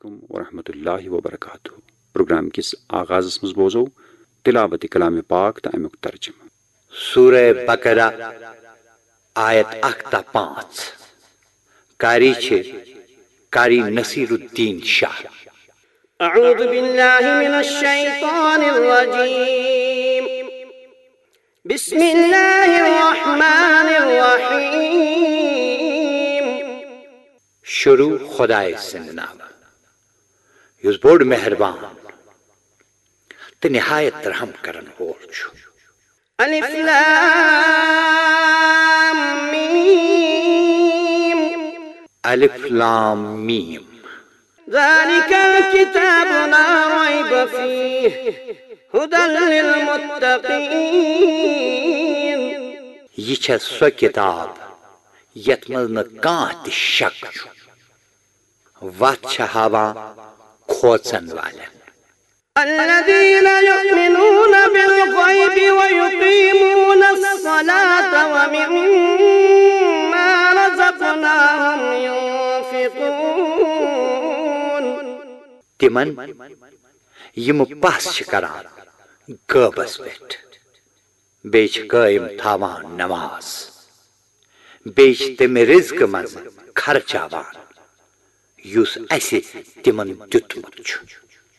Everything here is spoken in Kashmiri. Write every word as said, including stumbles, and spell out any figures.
علیکم ورحمۃ اللہ وبرکاتہ۔ پروگرام کِس آغازس منٛز بوزو تلاوت کلام پاک تہٕ امیُک ترجمہٕ۔ سورہ بقرہ، آیت اکھ تا پانٛژھ۔ قاری چھِ قاری نصیر الدین شاہ۔ أعوذ بالله من الشيطان الرجيم. بسم الله الرحمن الرحيم. شروع خدائے سٕنٛدِ ناوٕ، یُس بوٚڑ مہربان تہٕ نہایت رحم کرن وول چھُ۔ ألف لام ميم. الف لام میم۔ ذلك الكتاب لا ريب فيه هدى للمتقين. یہِ چھےٚ سۄ کتاب یتھ منٛز نہٕ کانٛہہ تہِ شک چھُ، وتھ چھےٚ ہاوان کھوژن والٮ۪ن۔ الذين يؤمنون بالغيب ويقيمون الصلاة ومما رزقناهم ينفقون. تِمن یِم پس چھِ کران غٲبس پٮ۪ٹھ، بیٚیہِ چھِ قٲیِم تھاوان نماز، بیٚیہِ چھِ تَمہِ رِزقہٕ منٛزٕ خرچاوان یُس اَسہِ تِمن دیُتمُت چھُ۔